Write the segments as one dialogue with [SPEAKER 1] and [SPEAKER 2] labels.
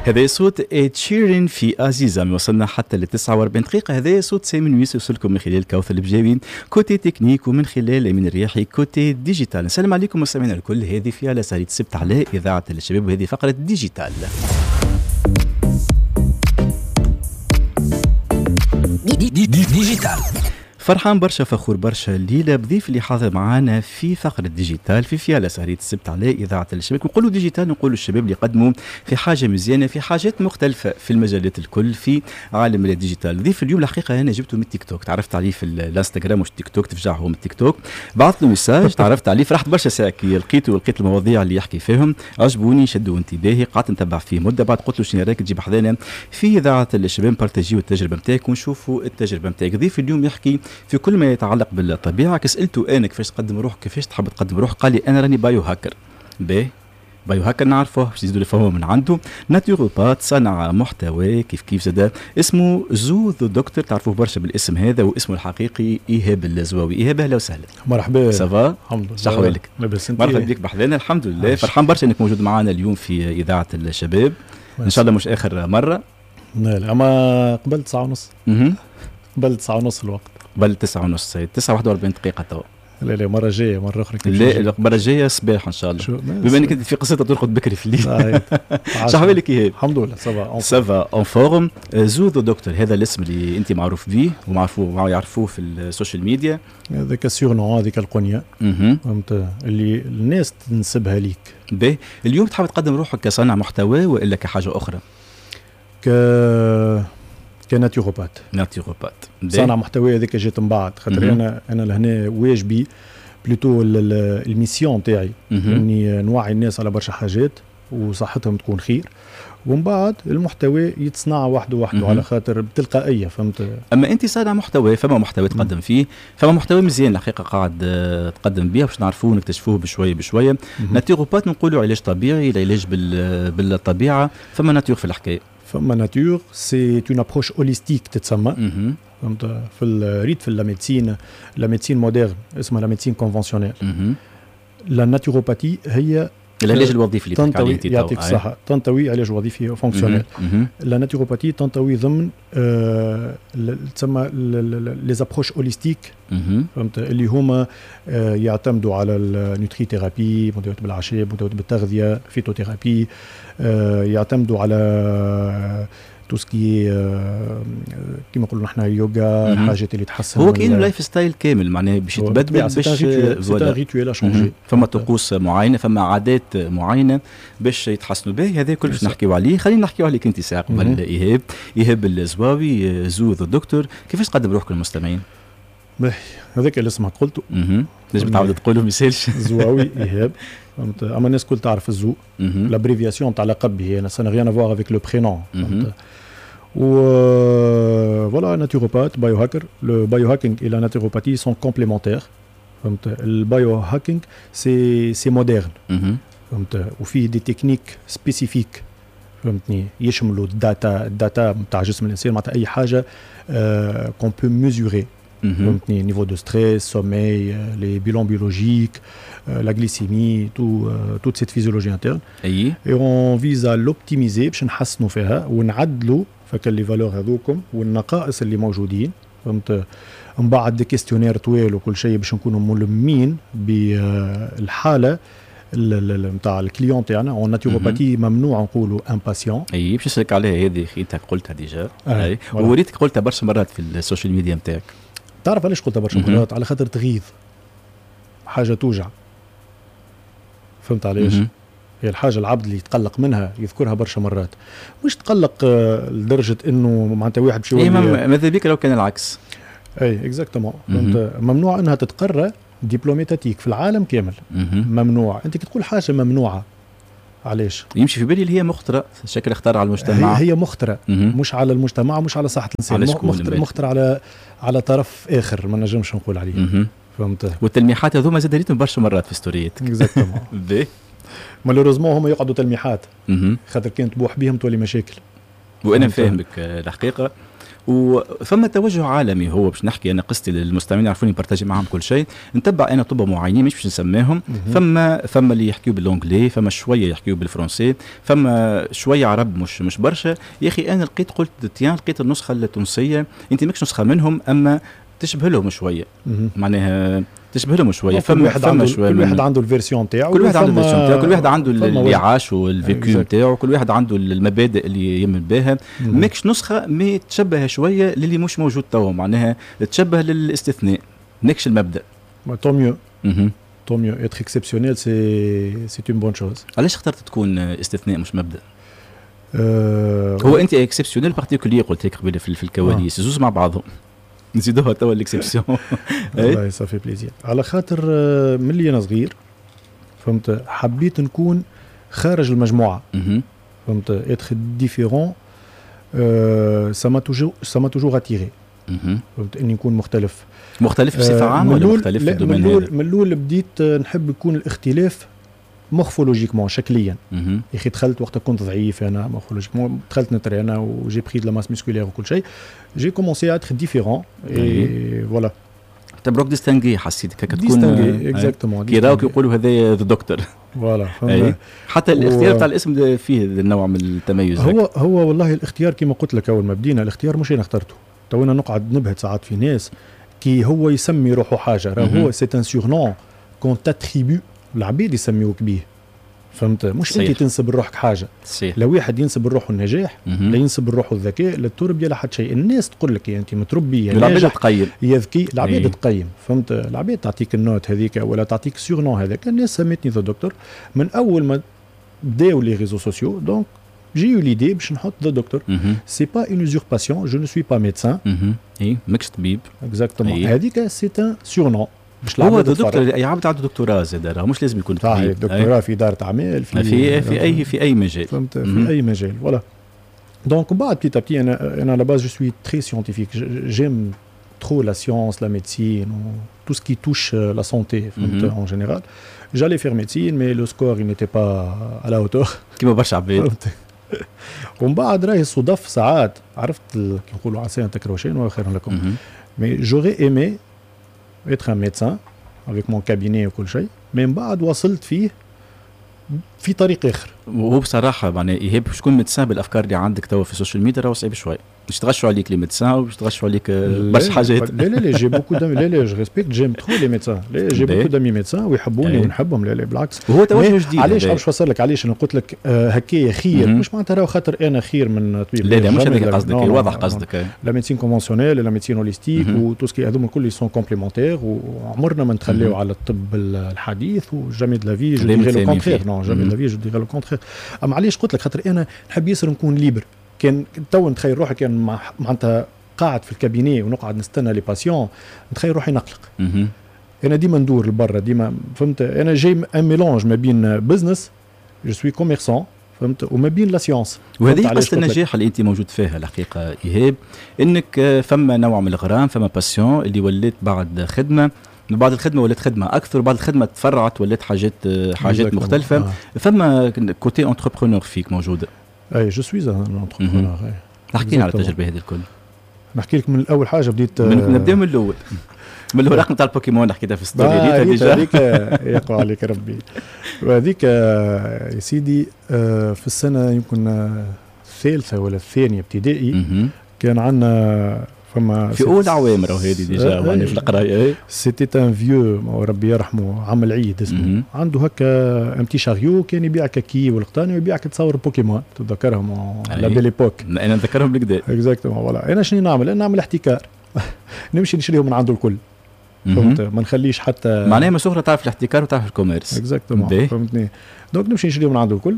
[SPEAKER 1] هذا صوت إد شيرين في عزيزة. وصلنا حتى ل 49 دقيقة. هذا صوت سامي نويس يوصلكم من خلال كوثر البجاوي côté technique، ومن خلال أمين الرياحي côté digital. نسلم عليكم مستمعينا الكل. هذه في على سهرية السبت على إذاعة الشباب، وهذه فقرة digital.
[SPEAKER 2] digital.
[SPEAKER 1] فرحان برشا، فخور برشا الليلة بضيف اللي حاضر معانا في فقره digital في فيالا سهريه السبت على اذاعة الشباب. نقولوا digital، نقولوا الشباب اللي قدموا في حاجة مزيانه، في حاجات مختلفة في المجالات الكل في عالم ال digital. ضيف اليوم الحقيقة انا جبته من التيك توك، تعرفت عليه في الانستغرام مش تيك توك، تفجعه من التيك توك، بعثت له message، تعرفت عليه، فرحت برشا ساعة كي لقيته ولقيت المواضيع اللي يحكي فيهم عجبوني، شدوا انتباهي، قعدت نتبع فيه مده. بعد قلت له شنو رايك تجيب حذانا في اذاعة الشباب، partager التجربة نتاعك ونشوفوا التجربة نتاعك. ضيف اليوم يحكي في كل ما يتعلق بالطبيعة. سالته انا كيفاش تقدم روحك، كيفاش تحب تقدم روحك، قال لي انا راني biohacker. باهي، biohacker نعرفوه باش يزيدوا يفهموا من عنده. naturopathe، صنع محتوى كيف كيف زاد، اسمه زو ذا دكتور، تعرفوه برشا بالاسم هذا، واسمه الحقيقي ايهاب الزواوي. ايهاب اهلا وسهلا.
[SPEAKER 3] مرحبا.
[SPEAKER 1] ça va؟
[SPEAKER 3] الحمد لله.
[SPEAKER 1] شحوالك؟
[SPEAKER 3] لاباس.
[SPEAKER 1] مرحبا بك بحذانا. الحمد لله، فرحان برشا انك موجود معنا اليوم في اذاعة الشباب، ان شاء الله مش اخر مرة.
[SPEAKER 3] لا، اما قبل 9:30. قبل 9:30 الوقت.
[SPEAKER 1] قبل 9:30، 9:41 دقيقة توا.
[SPEAKER 3] لا لا، مرة جاية، مرة أخرى.
[SPEAKER 1] لا، المرة الجاية صباح إن شاء الله، بما أنك أنت في قصتها ترقد بكري في الليل. شحوالك إيهاب؟
[SPEAKER 3] الحمد لله، ça va.
[SPEAKER 1] ça va en forme. زو ذا دكتور، هذا الاسم اللي أنت معروف به ومعروفوه يعرفوه في ال social media.
[SPEAKER 3] هذاك ال surnom، هذيك القنية، فهمت، اللي الناس تنسبها ليك.
[SPEAKER 1] باهي، اليوم تحب تقدم روحك كصانع محتوى وإلا كحاجة أخرى؟
[SPEAKER 3] ك naturopathe.
[SPEAKER 1] naturopathe.
[SPEAKER 3] صانع محتوى هذيك جات من بعد، خاطر انا لهنا واجبي plutôt ال mission تاعي اني نوعي الناس على برشا حاجات وصحتهم تكون خير، ومن بعد المحتوى يتصنع وحده وحده على خاطر بتلقائيه، فهمت.
[SPEAKER 1] اما انت صانع محتوى، فما محتوى تقدم فيه، فما محتوى مزيان الحقيقة قاعد تقدم به باش نعرفوه ونكتشفوه بشوية بشوية. naturopathe نقولوا علاج طبيعي، العلاج بالطبيعة، فما nature في الحكاية.
[SPEAKER 3] فما nature، c'est une approche holistique تتسمى، فهمت. في الريت في la médecine، la médecine moderne اسمها la médecine conventionnelle. la naturopathie هي
[SPEAKER 1] العلاج الوظيفي اللي
[SPEAKER 3] تنطوي، يعطيك الصحة، تنطوي علاج وظيفي fonctionnel. la naturopathie تنطوي ضمن تسمى les approches holistiques، فهمت، اللي هما يعتمدوا على ال nutrithérapie، مداوات بالاعشاب، مداوات بالتغذية، phytothérapie، يعتمدوا على tout ce qui كيما نقولوا نحن يوغا، الحاجات اللي تحسن.
[SPEAKER 1] هو كاين lifestyle كامل معناها باش يتبدل،
[SPEAKER 3] باش c'est un rituel à changer.
[SPEAKER 1] فما طقوس معينة، فما عادات معينة باش يتحسنوا به. هذا كل باش نحكيو عليه. خلينا نحكيو عليك انت ساعة قبل. ايهاب، ايهاب الزواوي، زو ذا دكتور، كيفاش تقدم روحك للمستمعين؟
[SPEAKER 3] هذاك اللي اسمك قلته.
[SPEAKER 1] لازم تعاود تقوله ما يسالش.
[SPEAKER 3] زواوي ايهاب، فهمت. اما الناس الكل تعرف الزو، l'abréviation تاع لقب هي، ça n'a rien à voir avec le prénom، فهمت. و voilà، naturopathe، biohacker. le biohacking et la naturopathie sont complémentaires، فهمت. ال biohacking c'est moderne، فهمت، وفيه des techniques spécifiques، فهمتني، يشملوا ال data، ال data نتاع جسم الانسان، معناتها اي حاجة qu'on peut mesurer، فهمتني، niveau de stress، sommeil، les bilans biologiques، la glycémie، toute cette physiologie interne. Et on vise à l'optimiser باش نحسنوا فيها ونعدلوا فك les valeurs هذوكم والنقائص اللي موجودين، فهمت. من بعد des questionnaires طويل وكل شيء باش نكونوا ملمين بالحالة نتاع ال client تاعنا. en naturopathie ممنوع نقولوا un patient.
[SPEAKER 1] اي، باش نسالك عليها هذه، انت قلتها déjà. اي، ووريتك قلتها برشا مرات في ال social media نتاعك.
[SPEAKER 3] تعرف علاش قلتها برشا مرات؟ على خاطر تغيظ، حاجة توجع، فهمت علاش؟ هي الحاجة العبد اللي يتقلق منها يذكرها برشا مرات، مش تقلق لدرجة انه معناتها واحد باش
[SPEAKER 1] يولي. ماذا بك لو كان العكس؟
[SPEAKER 3] اي exactement، فهمت. ممنوع انها تتقرى diplôme étatique في العالم كامل. ممنوع، انت كي تقول حاجة ممنوعة علاش؟
[SPEAKER 1] يمشي في بالي اللي هي مخطره، شكل اختار على المجتمع.
[SPEAKER 3] هي مخطره، مش على المجتمع، مش على صحة الانسان، مخطره على طرف اخر ما نجمش نقول عليه، فهمت.
[SPEAKER 1] والتلميحات هذوما زاد ريتهم برشا مرات في ستورياتك.
[SPEAKER 3] exactement. malheureusement هما يقعدوا تلميحات، خاطر كان تبوح بهم تولي مشاكل.
[SPEAKER 1] وانا فاهمك الحقيقة، وفما توجه عالمي. هو باش نحكي انا قصتي للمستمعين يعرفوني، partager معاهم كل شيء. نتبع انا طب معينين مش باش نسميهم، فما اللي يحكيو بال anglais، فما شوية يحكيو بالفرنسي، فما شوية عرب، مش برشا. يا اخي انا لقيت، قلت tiens، لقيت النسخة التونسيه. انت ماكش نسخه منهم اما تشبه لهم شويه، معناها تشبه لهم شويه.
[SPEAKER 3] فما واحد عنده، شوية كل واحد عنده ال version تاعو.
[SPEAKER 1] كل واحد عنده ال version تاعو، كل واحد عنده اللي عاش وال vécu نتاعو، كل واحد عنده المبادئ اللي يمن بها. ماكش نسخه mais تشبه شوية للي مش موجود توا، معناها تشبه للاستثناء، ماكش المبدا.
[SPEAKER 3] tant mieux، tant mieux، être exceptionnel c'est une bonne chose.
[SPEAKER 1] علاش اخترت تكون استثناء مش مبدا؟ هو انت exceptionnel particulier، قلت لك قبل في الكواليس، زوز مع بعضهم نزيدوها توا l'exception.
[SPEAKER 3] والله ça fait plaisir، على خاطر من اللي انا صغير، فهمت، حبيت نكون خارج المجموعه، فهمت، être différent ça m'a toujours attiré، فهمت، اني نكون مختلف.
[SPEAKER 1] مختلف بصفة عامة ولا مختلف
[SPEAKER 3] في ال domaine؟ من الاول بديت نحب يكون الاختلاف morphologiquement، شكليا. يا اخي دخلت وقت كنت ضعيف انا morphologiquement، دخلت نترينا و j'ai pris de la masse musculaire وكل شيء، j'ai commencé à être différent et voilà.
[SPEAKER 1] تبروك distingué، حسيتك هكا
[SPEAKER 3] تكون distingué، exactement.
[SPEAKER 1] كي راوك يقولوا هذا the doctor.
[SPEAKER 3] voilà.
[SPEAKER 1] حتى الاختيار تاع الاسم فيه النوع من التميز.
[SPEAKER 3] هو والله الاختيار كما قلت لك اول ما بدينا، الاختيار مش انا اخترته. تو انا نقعد نبهت ساعات في ناس كي هو يسمي روحه حاجه، راه هو c'est un surnom qu'on t'attribue، العبيد يسميوك بيه، فهمت، مش انت تنسب لروحك حاجه. لو واحد ينسب لروحه النجاح، لا ينسب لروحه الذكاء، لا التربيه، لا حتى شيء. الناس تقول لك يا انت متربي، يا
[SPEAKER 1] العباد تقيم.
[SPEAKER 3] يا ذكي، العباد تقيم، فهمت، العباد تعطيك ال note هذيك ولا تعطيك surnom هذاك. الناس سميتني the doctor من اول ما بداو les réseaux sociaux، donc j'ai eu l'idée باش نحط the doctor. c'est pas une usurpation، je ne suis pas médecin.
[SPEAKER 1] اي، ماكش طبيب.
[SPEAKER 3] exactement، هذيك c'est un surnom.
[SPEAKER 1] باش هو دكتور، اي عبد عنده دكتوراه زاد راه مش لازم يكون
[SPEAKER 3] طبيب. دكتوراه في ادارة اعمال.
[SPEAKER 1] في اي مجال.
[SPEAKER 3] فهمت، في اي مجال، voilà. donc بعد petit à petit، انا à la base je suis très scientifique، j'aime trop la science، la médecine، tout ce qui touche la santé en général. J'allais faire médecine، mais le score il n'était pas à la hauteur.
[SPEAKER 1] كيما برشا عباد.
[SPEAKER 3] ومن بعد راهي صدف ساعات، عرفت كي نقولوا عسى ان تكرهوا شيئا وهو خير لكم. mais j'aurais aimé être un médecin avec mon cabinet وكل شيء، من بعد وصلت فيه في طريق اخر.
[SPEAKER 1] وهو بصراحة معناها ايهاب، باش تكون médecin بالافكار اللي عندك توا في ال social media راهو صعيب شوي، باش تغشوا عليك les médecins وباش تغشوا عليك برشا حاجات.
[SPEAKER 3] لا لا لا، j'ai beaucoup d'amis، لا لا، je respecte، j'aime trop les médecins، لا، j'ai beaucoup d'amis médecins ويحبوني ونحبهم، لا لا بالعكس.
[SPEAKER 1] وهو توجه جديد.
[SPEAKER 3] علاش باش نفسر لك علاش انا قلت لك هكايا خير، مش معناتها راهو خاطر انا خير من طبيب.
[SPEAKER 1] لا لا، مش هذاك قصدك، واضح قصدك.
[SPEAKER 3] la médecine conventionnelle، la médecine holistique و tout ce qui هذوما الكل sont complémentaires، وعمرنا ما نتخليو على الطب الحديث و jamais de la vie، je dirais le contraire، non، jamais de la vie je dirais le contraire. اما علاش قلت لك؟ خاطر انا نحب ياسر نكون libre. كان تو نتخيل روحي كان معناتها قاعد في ال cabinet ونقعد نستنى les patients، نتخيل روحي نقلق. انا ديما ندور لبرا ديما، فهمت، انا j'ai un mélange ما بين business، je suis commerçant، فهمت، وما بين la science.
[SPEAKER 1] وهذه قصة النجاح اللي انت موجود فيها الحقيقة ايهاب، انك فما نوع من الغرام، فما passion اللي ولات بعد خدمه، بعد الخدمة ولات خدمة اكثر، بعد الخدمة تفرعت ولات حاجات مختلفه. فما côté entrepreneur فيك موجوده.
[SPEAKER 3] اي، je suis un entrepreneur.
[SPEAKER 1] احكي لنا على التجربة هذه الكل.
[SPEAKER 3] نحكي لك من اول حاجة بديت.
[SPEAKER 1] نبدا من الاول، من الورق نتاع البوكيمون، حكيتها في story.
[SPEAKER 3] déjà هذيك يقوى عليك ربي، وهذيك يا سيدي في السنة يمكن الثالثة ولا الثانية ابتدائي كان عندنا فما
[SPEAKER 1] في اول عوام راهو هذه déjà يعني في القرايه.
[SPEAKER 3] c'était un vieux، ربي يرحمه، عم العيد اسمه، عنده هكا un petit chariot، كان يبيع كاكي والقطاني ويبيع تصاور بوكيمون، تتذكرهم، la belle époque.
[SPEAKER 1] انا نتذكرهم بالكدا.
[SPEAKER 3] exactement، voilà. انا شنو نعمل؟ انا نعمل احتكار، نمشي نشريهم من عنده الكل، فهمت، ما نخليش حتى
[SPEAKER 1] معناها من تعرف الاحتكار وتعرف ال commerce.
[SPEAKER 3] exactement، فهمتني، donc نمشي نشريهم من عنده الكل.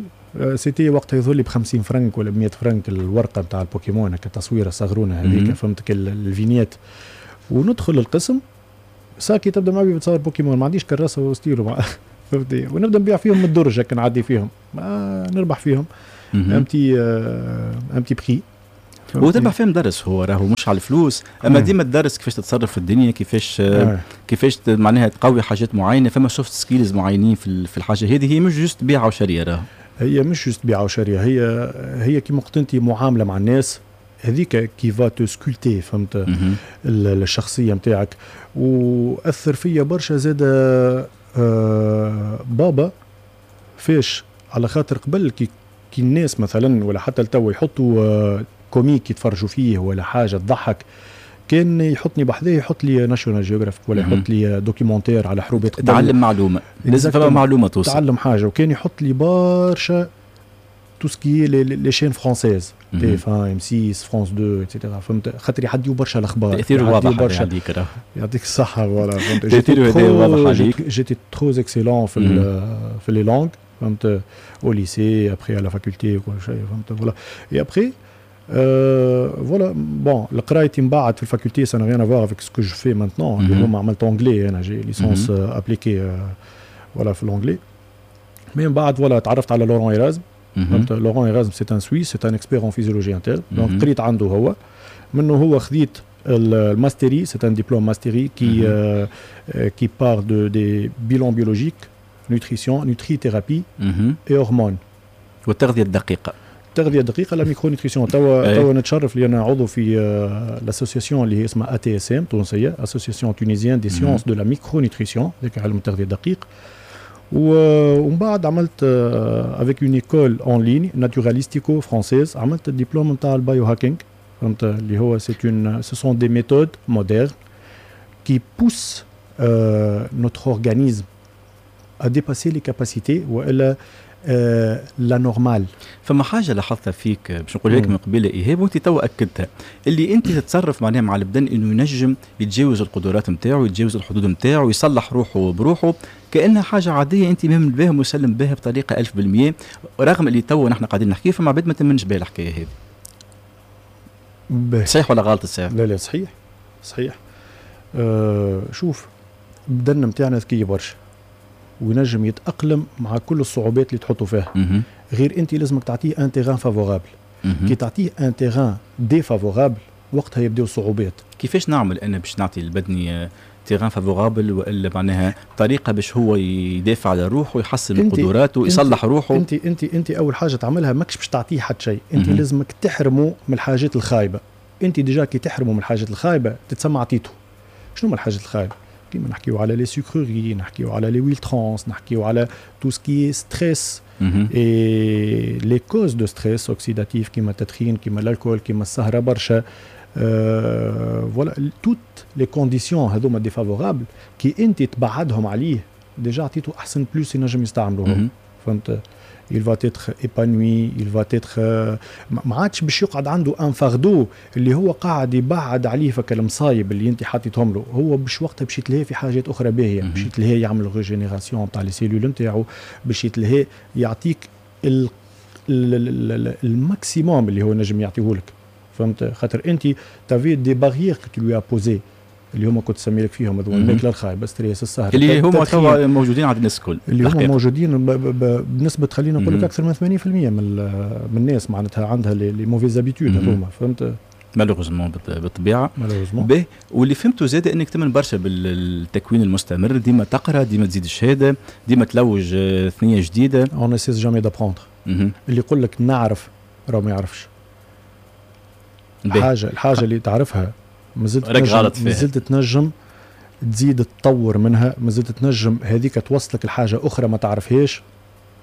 [SPEAKER 3] c'était وقتها يظهر لي ب 50 فرنك ولا ب 100 فرنك الورقة نتاع البوكيمون، هكا تصويره صغرونه هذيك، فهمت، ال vignette. وندخل القسم، ساكي تبدا معي بتصور بوكيمون، ما عنديش كراسة وستيلو، فهمتني، ونبدا نبيع فيهم من الدرج هكا، نعدي فيهم، ما نربح فيهم un petit prix.
[SPEAKER 1] هو تربح فيهم درس، هو راهو مش على الفلوس، اما ديما الدرس كيفاش تتصرف في الدنيا، كيفاش معناها تقوي حاجات معينه، فما soft skills معينين في الحاجة هذه. هي مش juste بيعه وشريه راه.
[SPEAKER 3] هي مش juste بيعه وشريه، هي كيما قلت انت معاملة مع الناس. هذيك qui va te sculpter، فهمت، الشخصية نتاعك. واثر فيا برشا زاد بابا فاش، على خاطر قبل كي الناس مثلا ولا حتى التو يحطوا comique يتفرجوا فيه ولا حاجة تضحك، كان يحطني بحذاه، يحط لي National Geographic ولا يحط لي documentaire على حروبات.
[SPEAKER 1] تعلم معلومه، لازم فما معلومة توصل.
[SPEAKER 3] تعلم حاجه. وكان يحط لي برشا tout ce qui est les chaînes françaises، TF1، M6، France 2، et cetera، فهمت، خاطر يعديو برشا الاخبار.
[SPEAKER 1] تاثير واضح عليك.
[SPEAKER 3] يعطيك الصحه، voilà،
[SPEAKER 1] فهمت. تاثير واضح عليك.
[SPEAKER 3] j'étais trop excellent في les langues، فهمت، au lycée، après à la faculté، كل شيء، فهمت، voilà. et après voilà، bon، قرايتي من بعد في ال faculté ça n'a rien à voir avec ce que je fais maintenant، اللي هما عملت anglais، انا j'ai licence appliquée، voilà، في l'anglais. mais من بعد voilà تعرفت على Laurent Erasme، فهمت. Laurent Erasme c'est un Suisse، c'est un expert en physiologie interne، donc قريت عنده هو، منه هو خذيت ال mastery، c'est un diplôme mastery qui part de des bilans biologiques، nutrition، nutrithérapie et hormones.
[SPEAKER 1] والتغذيه الدقيقه.
[SPEAKER 3] التغذية الدقيقه، la micronutrition. توا نتشرف لي انا عضو في l'association اللي هي اسمها ATSM تونسيه، Association tunisienne des sciences de la micronutrition، ذاك علم التغذية الدقيق. ومن بعد عملت avec une école en ligne Naturalistico française، عملت الدبلوم نتاع ال biohacking، فهمت، اللي هو c'est une ce sont des méthodes modernes qui poussent notre organisme à dépasser les capacités والا la normale.
[SPEAKER 1] فما حاجة لاحظتها فيك باش نقول لك من قبيلة ايهاب، وانت تو اكدتها، اللي انت تتصرف معناها مع البدن انه ينجم يتجاوز القدرات نتاعو، يتجاوز الحدود نتاعو، يصلح روحه بروحه كانها حاجة عاديه. انت مؤمن بها، مسلم بها بطريقة 1000%، رغم اللي تو نحن قاعدين نحكي فما عباد ما تمنش بها الحكاية هذه. صحيح ولا غلط الساعة؟
[SPEAKER 3] لا لا، صحيح صحيح. شوف، البدن نتاعنا ذكي برشا وينجم يتاقلم مع كل الصعوبات اللي تحطوا فيها، غير انت لازمك تعطيه un terrain favorable. كي تعطيه un terrain défavorable وقتها يبداو الصعوبات.
[SPEAKER 1] كيفاش نعمل انا باش نعطي البدني terrain favorable، والا معناها طريقه باش هو يدافع على روحه ويحسن من قدراته ويصلح روحه؟
[SPEAKER 3] انت اول حاجة تعملها ماكش باش تعطيه حتى شيء، انت لازمك تحرمه من الحاجات الخايبه. انت déjà كي تحرمه من الحاجات الخايبة تتسمى عطيته. شنو من الحاجات الخايبه؟ كيما نحكيو على les sucreries، نحكيو على les huiles trans، نحكيو على tout ce qui est stress et les causes de stress oxydatif، كيما التدخين، كيما l'alcool، كيما السهرة برشا، voilà، toutes les conditions هذوما défavorables كي انت تبعدهم عليه déjà عطيته احسن plus ينجم يستعملوه، فهمت. il va être épanoui، il va être ما عادش باش يقعد عنده un fardeau اللي هو قاعد يبعد عليه فك المصايب اللي انت حطيتهم له. هو باش وقتها باش يتلهي في حاجات اخرى باهيه، باش يتلهي يعمل régénération تاع les cellules نتاعو، باش يتلهي يعطيك ال maximum اللي هو نجم يعطيه لك، فهمت، خاطر انت t'avais des barrières que tu lui as posées، اللي هما كنت تسمي لك فيهم هذوما، الماكلة الخايبه، stress، السهر.
[SPEAKER 1] اللي هما توا موجودين عند الناس الكل.
[SPEAKER 3] اللي هما موجودين بنسبة خلينا نقول لك اكثر من 80% من الناس معناتها عندها les mauvaises habitudes هذوما، فهمت.
[SPEAKER 1] malheureusement، بالطبيعه. به، واللي فهمته زاد انك تمن برشا بالتكوين المستمر، ديما تقرا، ديما تزيد الشهاده، ديما تلوج ثنيه جديده.
[SPEAKER 3] on ne cesse jamais d'apprendre. اللي يقول لك نعرف راه ما يعرفش الحاجه اللي تعرفها مازلت تنجم، مازلت تنجم تزيد تطور منها، مازلت تنجم هذيك توصلك لحاجة اخرى ما تعرفهاش،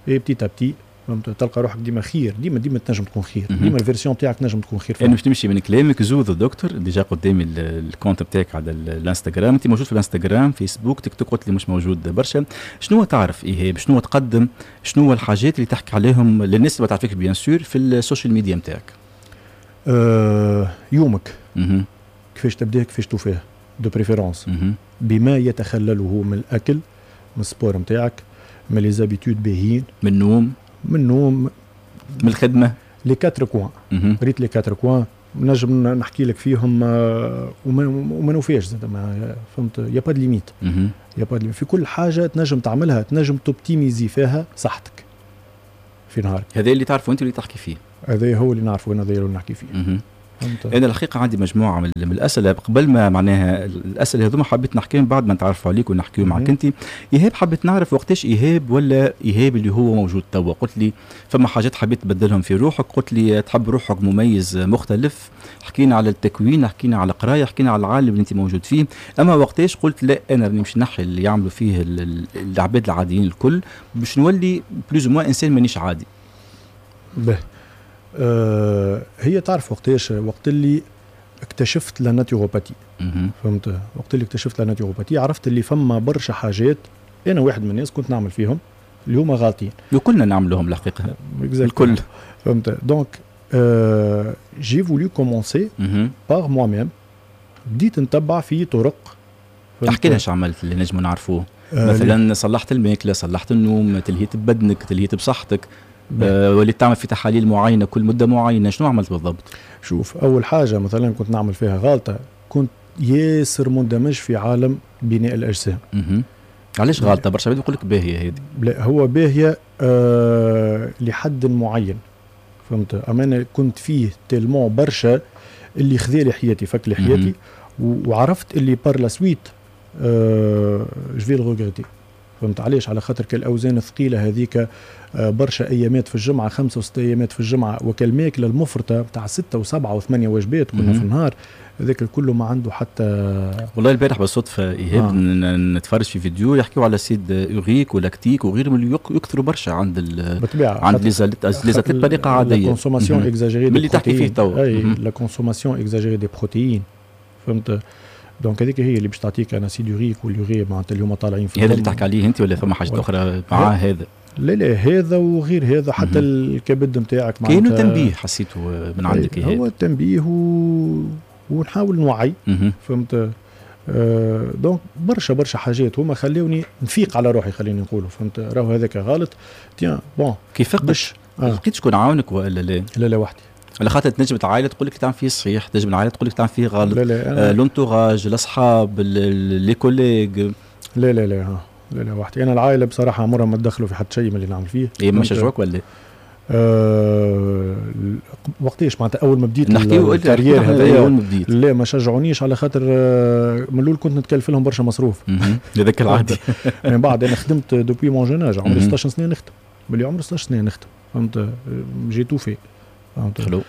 [SPEAKER 3] et petit à petit، فهمت، تلقى روحك ديما خير، ديما ديما تنجم تكون خير، ديما ال version تاعك تنجم تكون خير.
[SPEAKER 1] يعني باش تمشي من كلامك Zou the Doctor، déjà قدامي ال compte بتاعك على الانستغرام، انت موجود في الانستغرام، فيسبوك، تيك توك قلت لي مش موجود برشا. شنو تعرف ايهاب؟ شنو تقدم؟ شنو الحاجات اللي تحكي عليهم للناس اللي ما تعرفكش bien sûr في ال social media نتاعك؟
[SPEAKER 3] يومك كيفاش تبداه، كيفاش توفاه، de préférence بما يتخلله من الاكل، من ال sport نتاعك، من les habitudes باهيين.
[SPEAKER 1] من النوم.
[SPEAKER 3] من النوم.
[SPEAKER 1] من الخدمه.
[SPEAKER 3] les quatre coins، ريت les quatre coins نجم نحكي لك فيهم وما نوفيش زاد، فهمت، y a pas de limite، y a pas في كل حاجة تنجم تعملها تنجم t'optimiser فيها صحتك في نهارك.
[SPEAKER 1] هذا اللي تعرفه انت اللي تحكي فيه.
[SPEAKER 3] هذا هو اللي نعرفه انا، هذا اللي نحكي فيه.
[SPEAKER 1] انا الحقيقة عندي مجموعة من الاسئلة قبل ما معناها الاسئلة هذوما حبيت نحكيهم بعد ما نتعرفوا عليك ونحكيو معك انت ايهاب. حبيت نعرف وقتاش ايهاب ولا ايهاب اللي هو موجود توا. قلت لي فما حاجات حبيت تبدلهم في روحك، قلت لي تحب روحك مميز مختلف، حكينا على التكوين، حكينا على القراية، حكينا على العالم اللي انت موجود فيه. اما وقتاش قلت لا انا راني مش نحي اللي يعملوا فيه العباد العاديين الكل باش نولي plus ou moins انسان مانيش عادي؟
[SPEAKER 3] به هي تعرف وقتاش، وقت اللي اكتشفت la naturopathie. فهمت؟ وقت اللي اكتشفت la naturopathie عرفت اللي فما برشا حاجات انا واحد من الناس كنت نعمل فيهم اللي هما غالطين.
[SPEAKER 1] وكلنا نعملوهم الحقيقة الكل.
[SPEAKER 3] فهمت؟ donc j'ai voulu commencer par moi-même. بديت نتبع في طرق.
[SPEAKER 1] احكي لنا ايش عملت اللي نجموا نعرفوه. مثلا صلحت الماكلة، صلحت النوم، تلهيت ببدنك، تلهيت بصحتك، وليت تعمل في تحاليل معينة كل مده معينة، شنو عملت بالضبط؟
[SPEAKER 3] شوف، اول حاجة مثلا كنت نعمل فيها غلطه، كنت ياسر مندمج في عالم بناء الاجسام.
[SPEAKER 1] علاش غلطه؟ برشا عباد يقول لك باهيه هذه.
[SPEAKER 3] لا، هو باهيه لحد معين، فهمت؟ اما انا كنت فيه tellement برشا اللي خذالي حياتي، فك لي حياتي، وعرفت اللي par la suite je vais le regretter. فهمت علاش؟ على خاطر كالاوزان الثقيلة هذيك، برشا ايامات في الجمعه، 5 و6 ايامات في الجمعه، وكالماكله المفرطة تاع 6 و7 و8 وجبات كنا في النهار، هذاك الكل ما عنده حتى.
[SPEAKER 1] والله البارح بالصدفة ايهاب نتفرج في فيديو يحكيوا على l'acide urique و lactique وغيرهم اللي يكثروا برشا عند
[SPEAKER 3] بالطبيعه.
[SPEAKER 1] عند les athlètes بطريقة عاديه.
[SPEAKER 3] la consommation exagérée.
[SPEAKER 1] اللي تحكي فيه تو.
[SPEAKER 3] اي، la consommation exagérée des protéines، فهمت؟ donc هذيك هي اللي باش تعطيك un acide urique و l'urée معناتها اللي هما طالعين
[SPEAKER 1] في هذا اللي تحكي عليه انت ولا فما حاجات اخرى مع هذا؟
[SPEAKER 3] لا لا، هذا وغير هذا، حتى الكبد نتاعك.
[SPEAKER 1] معناتها كاينو تنبيه حسيته من عندك؟
[SPEAKER 3] هو التنبيه ونحاول نوعي، فهمت؟ Donc برشا برشا حاجات هما خلوني نفيق على روحي، خليني نقولوا، فهمت؟ راهو هذاك غلط، tiens bon.
[SPEAKER 1] كيف فقت؟ لقيت شكون عاونك ولا لا؟
[SPEAKER 3] لا لا، وحدي.
[SPEAKER 1] على خاطر تنجم العائلة تقول لك تعمل فيه صحيح، تنجم العائلة تقول لك تعمل فيه غلط.
[SPEAKER 3] لا لا.
[SPEAKER 1] l'entourage، الاصحاب، les collègues.
[SPEAKER 3] لا لا لا لا لا، وحدي. انا العائلة بصراحة عمرها ما تدخلوا في حتى شيء من اللي نعمل فيه.
[SPEAKER 1] اي، ما شجعوك ولا؟
[SPEAKER 3] وقتاش؟ معناتها اول ما بديت
[SPEAKER 1] نحكيو
[SPEAKER 3] ال carrière
[SPEAKER 1] هذايا؟ اول ما بديت.
[SPEAKER 3] لا، ما شجعونيش على خاطر من الاول كنت نتكلف لهم برشا مصروف.
[SPEAKER 1] هذاك العادي.
[SPEAKER 3] من بعد انا خدمت depuis mon jeune âge، عمري 16 سنة نخدم، ملي عمري 16 سنة نخدم، فهمت؟ j'ai tout fait، فهمت؟
[SPEAKER 1] حلو.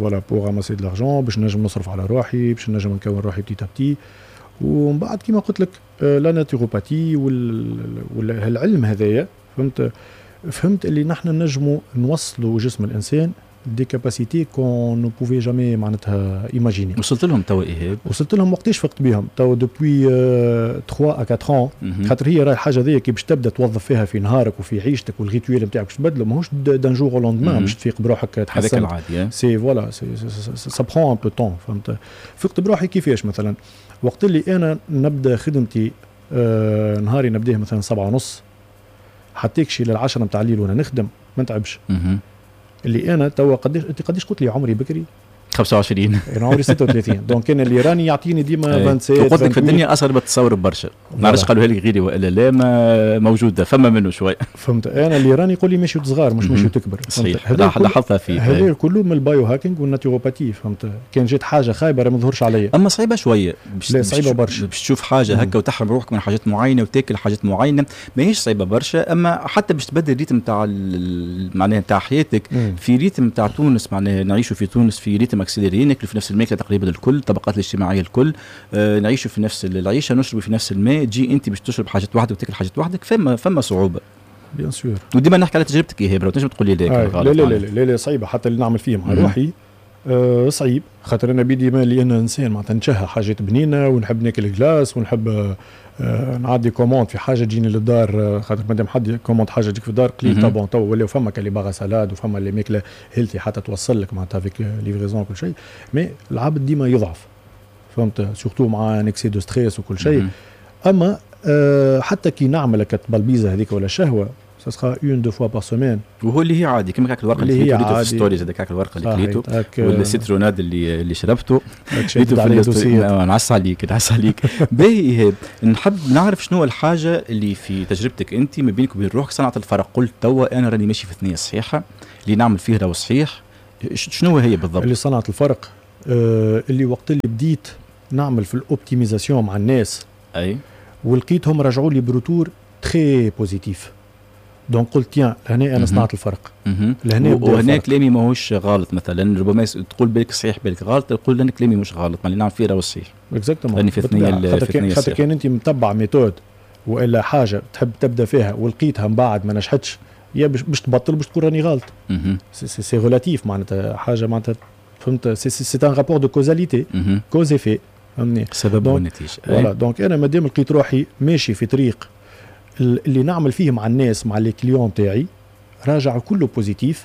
[SPEAKER 3] voilà، pour ramasser de l'argent باش نجم نصرف على روحي، باش نجم نكون روحي petit à petit. ومن بعد كيما قلت لك la naturopathie والعلم هذايا، فهمت؟ فهمت اللي نحن نجموا نوصلوا جسم الانسان des capacités qu'on ne pouvait jamais معناتها imaginer.
[SPEAKER 1] وصلت لهم توا ايهاب؟
[SPEAKER 3] وصلت لهم وقتاش؟ فقت بهم توا depuis 3 à 4 ans. خاطر هي راهي الحاجة ذي كي باش تبدا توظف فيها في نهارك وفي عيشتك وال rituel نتاعك باش تبدله، ماهوش d'un jour au lendemain باش تفيق بروحك
[SPEAKER 1] تحسن. هذاك العادي.
[SPEAKER 3] c'est voilà، c'est ça prend un peu de temps، فهمت؟ فقت بروحي كيفاش؟ مثلا وقت اللي انا نبدا خدمتي، نهاري نبداه مثلا 7:30 حتى يكشي لل10 نتاع الليل وانا نخدم، ما نتعبش. اللي انا توا قداش؟ انت قداش قلت لي عمري بكري؟
[SPEAKER 1] 25.
[SPEAKER 3] انا عمري 36، donc انا اللي راني يعطيني ديما 27.
[SPEAKER 1] قلت لك في الدنيا اصغر بتصور برشا، ما نعرفش قالوها لك غيري والا لا، ما موجودة فما منه شوي.
[SPEAKER 3] فهمت؟ انا اللي راني يقول لي ماشي صغار مش ماشي تكبر.
[SPEAKER 1] صحيح، لاحظتها فيك.
[SPEAKER 3] هذا كله من ال biohacking وال naturopathie، فهمت؟ كان جات حاجة خايبة ما ظهرش عليا.
[SPEAKER 1] اما صعيبة شويه.
[SPEAKER 3] لا، صعيبة برشا.
[SPEAKER 1] باش تشوف حاجة هكا وتحرم روحك من حاجات معينة وتاكل حاجات معينه، ماهيش صعيبة برشا، اما حتى باش تبدل ال rythme تاع معناها تاع حياتك في rythme تاع تونس، معناها نعيشوا في تونس في rythme accéléré، ناكلوا في نفس الماكلة تقريبا الكل، الطبقات الاجتماعية الكل، نعيشوا في نفس العيشه، نشربوا في نفس الماء. تجي انت باش تشرب حاجات وحدك وتاكل حاجات وحدك، فما صعوبه.
[SPEAKER 3] bien sûr.
[SPEAKER 1] وديما نحكي على تجربتك ايهاب، تنجم تقول لي
[SPEAKER 3] لا؟ لا لا لا لا لا، صعيبه. حتى اللي نعمل فيه مع روحي صعيب، خاطر انا بيدي مالي انا انسان معناتها نشهى حاجات بنينه ونحب ناكل glace ونحب نعدي commande في حاجة تجيني للدار، خاطر مادام حد commande حاجة تجيك في الدار قليل. bon، تو ولاو فما les bars à salades وفما اللي ماكله healthy حتى توصل لك معناتها avec livraison كل شيء، mais العبد ديما يضعف، فهمت؟ surtout مع un excès de stress وكل شيء. اما حتى كي نعمل البلبيزه هذيك ولا شهوه، ça sera une deux fois par semaine.
[SPEAKER 1] وهو اللي هي عادي كما كاك الورقة اللي كليتو في stories، هذاك كاك الورقة اللي كليتو ولا ال citronnade اللي شربته.
[SPEAKER 3] في
[SPEAKER 1] نعس عليك، نعس عليك. باهي ايهاب، نحب نعرف شنو الحاجة اللي في تجربتك انت ما بينك وبين روحك صنعت الفرق، قلت توا انا راني ماشي في ثنيه صحيحه، اللي نعمل فيه راهو صحيح. شنو هي بالضبط؟
[SPEAKER 3] اللي صنعت الفرق اللي وقت اللي بديت نعمل في ال optimisation مع الناس،
[SPEAKER 1] اي،
[SPEAKER 3] ولقيتهم رجعوا لي ب retour très positif، donc قلت tiens، لهنا انا صنعت الفرق.
[SPEAKER 1] لهنا وهنا كلامي ماهوش غلط، مثلا ربما تقول بالك صحيح بالك غلط، تقول لان كلامي مش غلط، ما اللي نعمل فيه راهو صحيح.
[SPEAKER 3] exactement.
[SPEAKER 1] راني في ثنيه.
[SPEAKER 3] في خاطر كان انت متبع méthode والا حاجة تحب تبدا فيها ولقيتها من بعد ما نجحتش، يا باش تبطل باش تقول راني غلط. c'est relatif، معناتها حاجة معناتها فهمت، c'est un rapport de causalité، cause effet، فهمني؟
[SPEAKER 1] سبب والنتيجه.
[SPEAKER 3] voilà، donc انا مادام لقيت روحي ماشي في طريق اللي نعمل فيه مع الناس، مع les clients تاعي، راجع كله positif،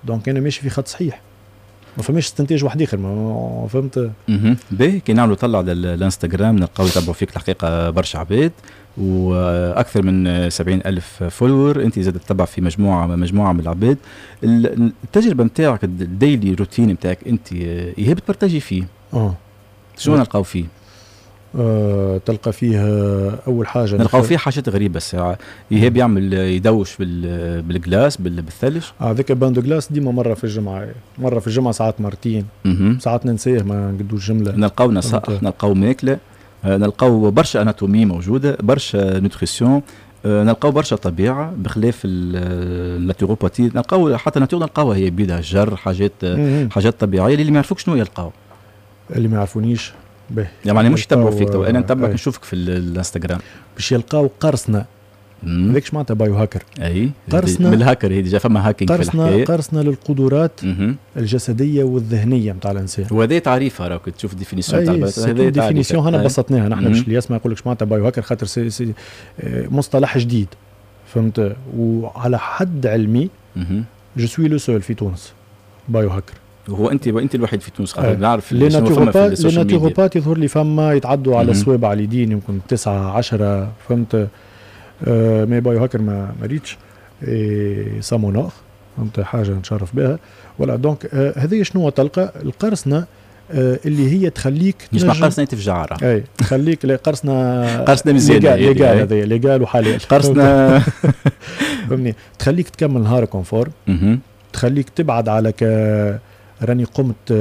[SPEAKER 3] donc انا ماشي في خط صحيح، ما فماش استنتاج واحد اخر، ما فهمت.
[SPEAKER 1] باهي، كي نعملوا طلع على الانستغرام نلقاو يتبعوا فيك الحقيقة برشا عباد واكثر من 70 الف follower. انت زاد تتبع في مجموعه من العباد. التجربة نتاعك، ال daily routine نتاعك انت ايهاب ت partager فيه؟ شنو نلقاو فيه؟
[SPEAKER 3] تلقى فيه اول حاجه.
[SPEAKER 1] نلقاو فيه حاجات غريبة الساعه، ايهاب يعمل يدوش بال glace، بالثلج.
[SPEAKER 3] هذاك bain de glace ديما مرة في الجمعه، مرة في الجمعه، ساعات مرتين، ساعات ننساه ما نقدوش جمله.
[SPEAKER 1] نلقاو نصائح، نلقاو ماكله، نلقاو برشا anatomie موجوده، برشا nutrition، نلقاو برشا طبيعه، بخلاف ال naturopathie نلقاو حتى nature، نلقاوها هي بيدها الجر، حاجات طبيعيه. اللي ما يعرفوك شنو يلقاو؟
[SPEAKER 3] اللي ما يعرفونيش؟
[SPEAKER 1] به يعني مش يتبعوا فيك تو، انا نتبعك، نشوفك في الانستغرام.
[SPEAKER 3] باش يلقاو قرصنه. هذاك معناتها biohacker.
[SPEAKER 1] اي.
[SPEAKER 3] قرصنه.
[SPEAKER 1] من الهاكر هي déjà فما hacking.
[SPEAKER 3] في الحكايه، قرصنة للقدرات الجسدية والذهنية نتاع الانسان.
[SPEAKER 1] وهذا تعريفها، راك تشوف définition تاع.
[SPEAKER 3] هذا définition هنا بسطناها نحن باش اللي يسمع يقول لك معناتها biohacker، خاطر c'est مصطلح جديد، فهمت؟ وعلى حد علمي je suis le seul في تونس biohacker.
[SPEAKER 1] هو انت الوحيد في تونس، خاطر نعرف.
[SPEAKER 3] les naturopathes، les naturopathes يظهر لي فما يتعدوا على صوابع اليدين، يمكن 9 10، فهمت؟ Mais biohacker ما ريتش et ça m'honore، فهمت؟ حاجة نتشرف بها. voilà، donc هذه شنو تلقى؟ القرصنة اللي هي تخليك.
[SPEAKER 1] مش قرصنة تفجع.
[SPEAKER 3] اي، تخليك قرصنه.
[SPEAKER 1] قرصنة مزيانه.
[SPEAKER 3] légal، هذه légal وحلال.
[SPEAKER 1] قرصنه.
[SPEAKER 3] فهمني؟ تخليك تكمل نهارك en forme، تخليك تبعد على ك راني قمت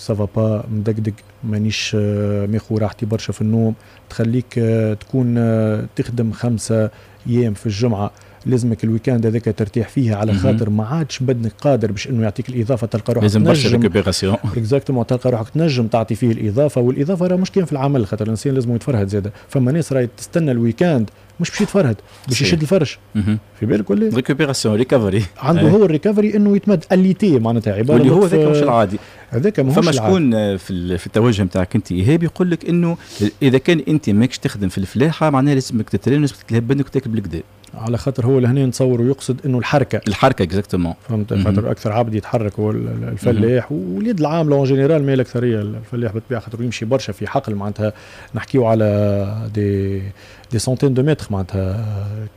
[SPEAKER 3] ça va pas، مدقدق، مانيش ماخو راحتي برشا في النوم. تخليك تكون تخدم 5 ايام في الجمعه، لازمك ال week-end هذاك ترتاح فيه، على خاطر ما عادش بدنك قادر باش انه يعطيك الاضافه، تلقى روحك
[SPEAKER 1] لازم برشا récupération.
[SPEAKER 3] exactement، تلقى روحك تنجم تعطي فيه الاضافه. والاضافة راه مش كان في العمل، خاطر الانسان لازم يتفرهد زاده. فما ناس راهي تستنى ال week-end مش باش يتفرهد، باش يشد الفرش، في بالك ولا؟
[SPEAKER 1] récupération، recovery.
[SPEAKER 3] عنده هو ال recovery انه يتمد alité، معناتها عباره.
[SPEAKER 1] واللي هو ذاك مش العادي.
[SPEAKER 3] هذاك ماهوش.
[SPEAKER 1] فما شكون في التوجه نتاعك انت ايهاب يقول لك انه اذا كان انت ماكش تخدم في الفلاحة معناها لازمك تترين، لازمك تلهب بدنك وتاكل بالقدا.
[SPEAKER 3] على خاطر هو لهنا نتصور ويقصد انه الحركه.
[SPEAKER 1] الحركه، exactement.
[SPEAKER 3] فهمت؟ خاطر اكثر عبد يتحرك هو الفلاح واليد العاملة en général، mais الاكثرية الفلاح بالطبيعه، خاطر يمشي برشا في حقل، معناتها نحكيو على des centaines de mètres معناتها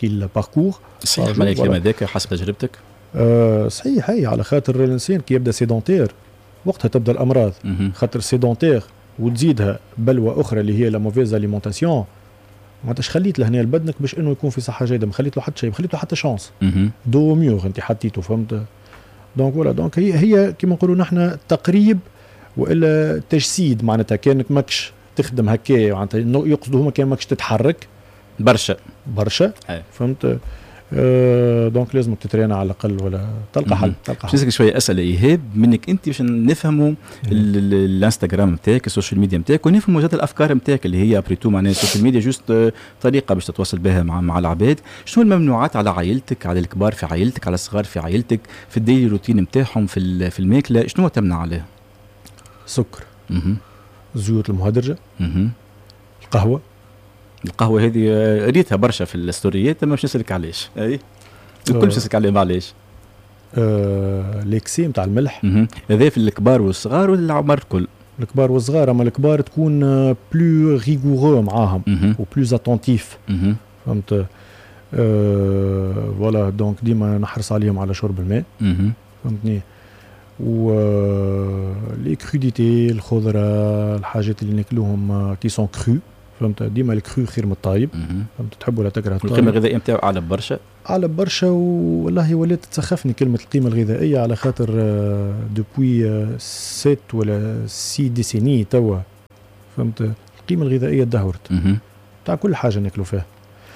[SPEAKER 3] qu'il parcourt.
[SPEAKER 1] صحيح معناها الكلام هذاك حسب تجربتك؟
[SPEAKER 3] صحيح، هي على خاطر الانسان كي يبدا sédentaire وقتها تبدا الامراض، خاطر sédentaire وتزيدها بلوى اخرى اللي هي la mauvaise alimentation. معناتها اش خليت لهنا لبدنك باش انه يكون في صحة جيده؟ ما خليت له حتى شيء، ما خليت له حتى chance، dos au mur انت حطيته، فهمت؟ donc voilà، donc هي كيما نقولوا نحن تقريب والا تجسيد، معناتها كانك ماكش تخدم هكا، معناتها يقصدوا هما كان ماكش تتحرك
[SPEAKER 1] برشا.
[SPEAKER 3] برشا، فهمت؟ Donc لازمك تترينا على الاقل ولا تلقى حل، تلقى
[SPEAKER 1] حل. نسالك شوية اسئلة ايهاب منك انت باش نفهموا الانستغرام نتاعك، ال social media نتاعك، ونفهموا زاد الافكار نتاعك اللي هي après tout معناها ال social media juste طريقه باش تتواصل بها مع العباد. شنو الممنوعات على عائلتك، على الكبار في عائلتك، على الصغار في عائلتك، في ال daily routine نتاعهم، في الماكله، شنو تمنع عليه؟
[SPEAKER 3] سكر، الزيوت المهدرجه، القهوه.
[SPEAKER 1] القهوة هذه ريتها برشا في الستوريات، ما باش نسالك علاش. اي، الكل باش نسالك عليه علاش.
[SPEAKER 3] l'excès نتاع الملح.
[SPEAKER 1] هذا في الكبار والصغار ولا العمر الكل؟
[SPEAKER 3] الكبار والصغار، اما الكبار تكون plus rigoureux معاهم و plus attentif، فهمت؟ Voilà، donc ديما نحرص عليهم على شرب الماء، فهمتني؟ و les crudités، الخضره، الحاجات اللي ناكلوهم qui sont crues. فهمت؟ ديما ال cru خير من الطايب، فهمت؟ تحب ولا تكره الطايب.
[SPEAKER 1] القيمة الغذائية نتاعو اعلى برشا،
[SPEAKER 3] اعلى برشا. والله ولات تسخفني كلمة القيمة الغذائيه، على خاطر depuis 7 ولا 6 décennies توا، فهمت؟ القيمة الغذائية تدهورت تاع كل حاجة ناكلوا فيها،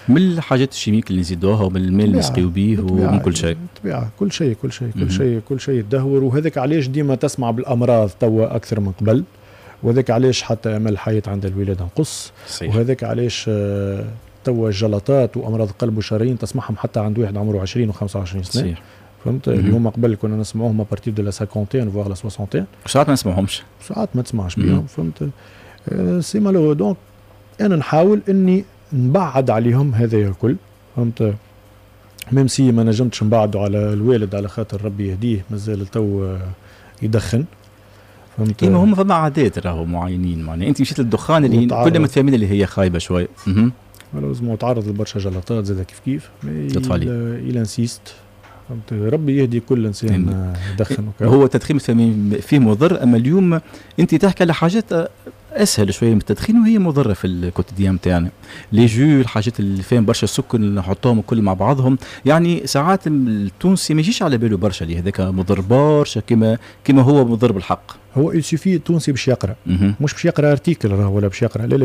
[SPEAKER 1] من الحاجات ال chimiques اللي نزيدوها ومن الماء اللي نسقيو به ومن كل شيء.
[SPEAKER 3] بالطبيعه، كل شيء كل شيء كل شيء كل شيء تدهور. وهذاك علاش ديما تسمع بالامراض توا اكثر من قبل، وهذاك علاش حتى امل الحياة عند الولادة نقص. وهذاك علاش توا الجلطات وامراض القلب والشرايين تسمعهم حتى عند واحد عمره 20 و25 سنه. فهمت؟ اليوم قبل كنا نسمعوهم à partir de la cinquantaine voire la soixantaine.
[SPEAKER 1] ساعات ما نسمعهمش.
[SPEAKER 3] ساعات ما تسمعش بهم، فهمت؟ c'est malheureux. donc انا نحاول اني نبعد عليهم هذا الكل، فهمت؟ même si ما نجمتش نبعدوا على الوالد، على خاطر ربي يهديه مازال تو يدخن،
[SPEAKER 1] فهمت؟ إيه، هما فما عادات راهو معينين، معناها انت مشيت للدخان اللي كلنا متفاهمين اللي هي خايبة شوي.
[SPEAKER 3] malheureusement تعرض لبرشا جلطات زاد كيف كيف.
[SPEAKER 1] لطف عليه.
[SPEAKER 3] il insiste، فهمت؟ ربي يهدي كل انسان يدخن.
[SPEAKER 1] هو التدخين فيه مضر، اما اليوم انت تحكي على حاجات اسهل شوية من التدخين وهي مضرة في ال quotidien نتاعنا، les jus، الحاجات اللي فيهم برشا سكر اللي نحطوهم الكل مع بعضهم. يعني ساعات التونسي ما يجيش على باله برشا اللي هذاك مضر برشا كما هو مضر بالحق.
[SPEAKER 3] هو il suffit التونسي باش يقرا، مش باش يقرا article راهو ولا باش يقرا، لا لا،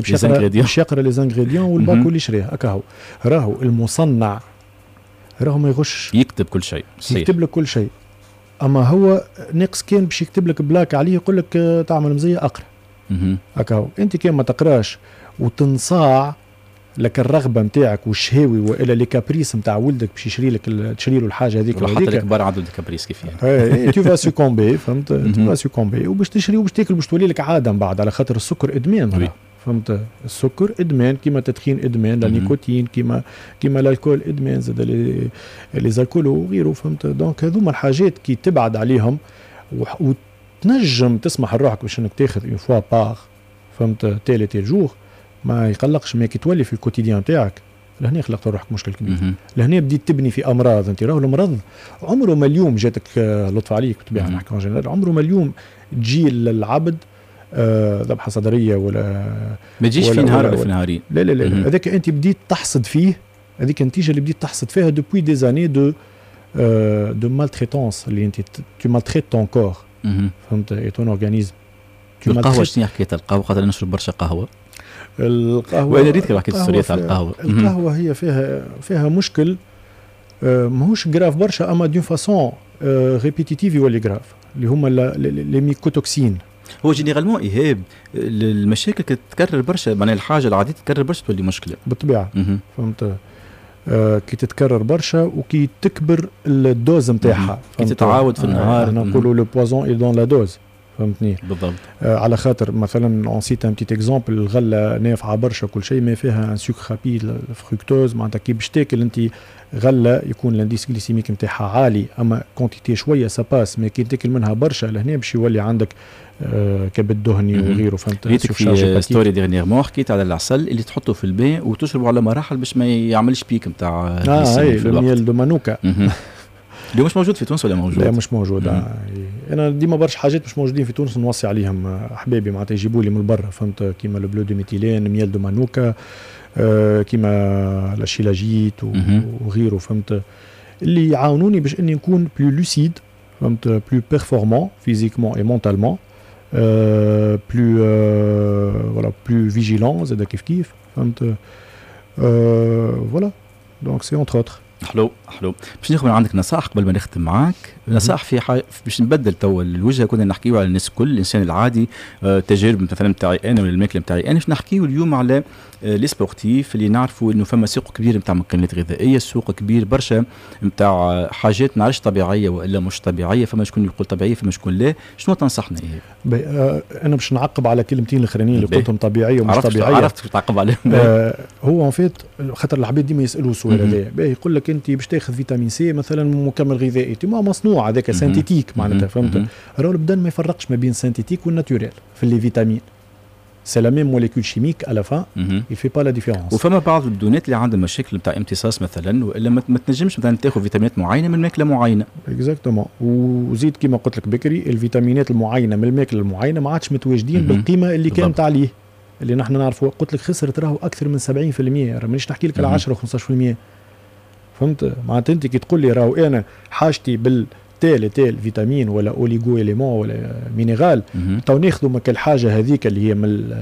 [SPEAKER 3] باش يقرا les ingrédients وال paquet اللي شريه هكا. هو راهو المصنع راهو ما يغش.
[SPEAKER 1] يكتب كل شيء.
[SPEAKER 3] صحيح. يكتب لك كل شيء، اما هو ناقص كان باش يكتب لك plaque عليه يقول لك تعمل مزية اقرا. هكا هو. انت كان ما تقراش وتنصاع لك الرغبة نتاعك والشهاوي والا les caprices نتاع ولدك باش يشري لك، تشري له الحاجة هذيك.
[SPEAKER 1] حتى الكبار عندهم des caprices كيف
[SPEAKER 3] يعني. tu vas succomber، فهمت؟ tu vas succomber وباش تشري وباش تاكل، باش تولي لك عادة من بعد، على خاطر السكر ادمان، فهمت؟ السكر ادمان كيما التدخين ادمان، la nicotine كيما l'alcool ادمان زاد، les alcoolos وغيره، فهمت؟ donc هذوما الحاجات كي تبعد عليهم وتنجم تسمح لروحك باش انك تاخذ une fois par، فهمت، tel et tel jour ما يقلقش، mais كي تولي في ال quotidien تاعك لهنا خلقت روحك مشكل كبير. لهنا بديت تبني في امراض. انت راهو المرض عمره ما اليوم جاتك، لطف عليك بالطبيعة نحكي en général، عمره ما اليوم تجي للعبد ذبحه صدريه ولا
[SPEAKER 1] ما تجيش في نهار ولا في نهارين.
[SPEAKER 3] لا لا لا، هذاك انت بديت تحصد فيه، هذيك النتيجة اللي بديت تحصد فيها depuis des années de maltraitance اللي انت tu maltraites ton corps، فهمت؟ et ton organisme.
[SPEAKER 1] القهوه، شنو حكاية القهوه؟ خاطر نشرب برشا قهوه.
[SPEAKER 3] القهوه،
[SPEAKER 1] وانا ريت حكيت السوريات على القهوه.
[SPEAKER 3] القهوة هي فيها مشكل ماهوش grave برشا، اما d'une façon répétitive يولي grave، اللي هما les mycotoxines.
[SPEAKER 1] هو généralement ايهاب المشاكل تتكرر برشا، معناها الحاجة العادية تتكرر برشا تولي مشكله.
[SPEAKER 3] بالطبيعه، فهمت؟ كي تتكرر برشا وكي تكبر ال dose نتاعها.
[SPEAKER 1] كي تتعاود في النهار.
[SPEAKER 3] احنا نقولوا le poison est dans la dose، فهمتني؟
[SPEAKER 1] بالضبط.
[SPEAKER 3] على خاطر مثلا on cite un petit exemple، الغلة نافعة برشا كل شيء، ما فيها un sucre rapide، fructose، معناتها كي باش تاكل انت غله يكون l'indice glycémique نتاعها عالي، اما quantité شوية ça passe، mais كي تاكل منها برشا لهنا باش يولي عندك كبد دهني وغيره، فهمت؟
[SPEAKER 1] ريتك في story dernièrement حكيت على العسل اللي تحطه في الماء وتشربه على مراحل باش ما يعملش pic نتاع
[SPEAKER 3] اه اي، ال miel de manuka.
[SPEAKER 1] اللي مش موجود في تونس ولا موجود؟
[SPEAKER 3] لا، مش موجود. انا ديما برشا حاجات مش موجودين في تونس نوصي عليهم احبابي، معناتها يجيبوا لي من برا، فهمت؟ كيما le bleu de méthylène، miel de manuka، كيما la shilajit وغيره، فهمت؟ اللي يعاونوني باش اني نكون plus lucide، فهمت؟ plus performant physiquement et mentalement، plus voilà، plus vigilant زاد كيف كيف، فهمت؟ voilà، donc c'est entre autres.
[SPEAKER 1] حلو حلو. باش ناخذ من عندك نصائح قبل ما نختم معاك، نصائح في حاجة باش نبدل تو الوجهه. كنا نحكيو على الناس الكل، الانسان العادي، تجارب مثلا نتاعي انا ولا الماكلة نتاعي انا. باش نحكيو اليوم على les sportifs اللي نعرفوا انه فما سوق كبير نتاع مكملات غذائيه، سوق كبير برشا نتاع حاجات نعرفش طبيعية والا مش طبيعيه، فما شكون يقول طبيعيه، فما شكون لا. شنو تنصحنا
[SPEAKER 3] ايه؟ انا باش نعقب على كلمتين الاخرانيين اللي قلتهم، طبيعية ومش طبيعيه.
[SPEAKER 1] عرفت تعقب عليهم.
[SPEAKER 3] هو en fait خاطر العباد ديما يسالوا السؤال هذا، يقول لك انت باش تاخذ vitamine C مثلا، مكمل غذائي ما مصنوع هذاك synthétique معناتها، فهمت؟ راهو البدن ما يفرقش ما بين synthétique وال naturel في les vitamines، c'est la même molécule chimique à la fin، il fait pas la différence.
[SPEAKER 1] وفما بعض البدونات اللي عندهم مشاكل نتاع امتصاص مثلا، والا ما تنجمش مثلا تاخذ فيتامينات معينة من ماكله معينه.
[SPEAKER 3] exactement. وزيد كيما قلت لك بكري، الفيتامينات المعينة من الماكلة المعينة ما عادش متواجدين بالقيمة اللي كانت عليه. اللي نحن نعرفوا. قلت لك خسرت راهو اكثر من 70%، راه مانيش نحكي لك على 10 و15%، فهمت؟ معناتها انت كي تقول لي راهو انا حاجتي بال tel tel vitamine ولا oligo-élément ولا minéral، تو ناخذوا مك الحاجة هذيك اللي هي من